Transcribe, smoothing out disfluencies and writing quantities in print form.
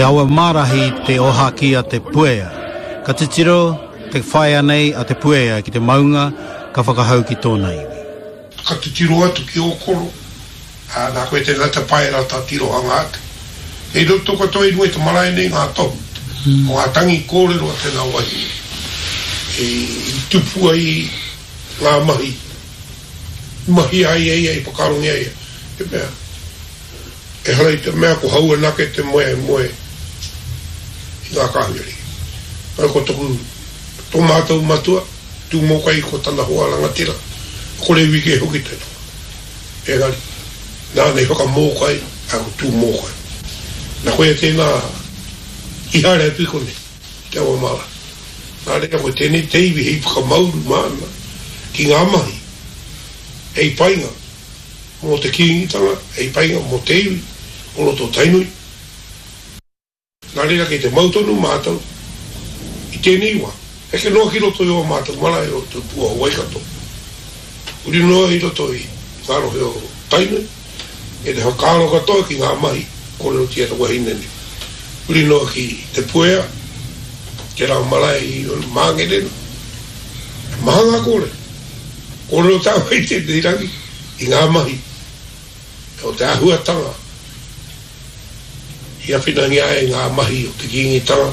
awa mārahi te ohaki a Te Puea. Ka titiro te whaea nei a Te Puea ki te maunga ka whakahau ki tōna iwi. Ka titiro atu ki ō koro, ā, nā koe tēnā te paera tā tirohanga atu. Kei roto katoa i runga i te marae nei ngā tohu o ngā tangi kōrero a tēnā wahine i tupu ai ngā mahi i mahia ai e ia, i whakaarongia ai e ia. Te mea, ehara i te mea ko hau anake te moe e moe i ngā kāhui ariki. Ko toku, tō mātou matua, Tūmōkai ko tana hoa rangatira, ko Rewike hoki te toa. Engari, nāna i whakamōkai a ko Tūmōkai. Na koia tēnā i haere atu i konei, i te awa marae. Nā reira ko tēnei te iwi hei whakamauru māna ki ngā mahi hei painga mō te Kīngitanga, hei painga mō te iwi o roto o Tainui. Nā reira kei te mau tonu mātou i tēnei wā, heke noa ki roto i ō mātou marae o Te Pua o Waikato, huri noa i roto i ngā rohe o Tainui, kei te whakaaro katoa ki ngā mahi kōrerotia te wahine nei, huri noa ki Te Puea, tērā marae i Māngere, he maha ngā kōrero, kōrero tāua i tēnei rangi i ngā mahi o te āhuatanga. I awhinangia ai ngā mahi o te Kīngitanga.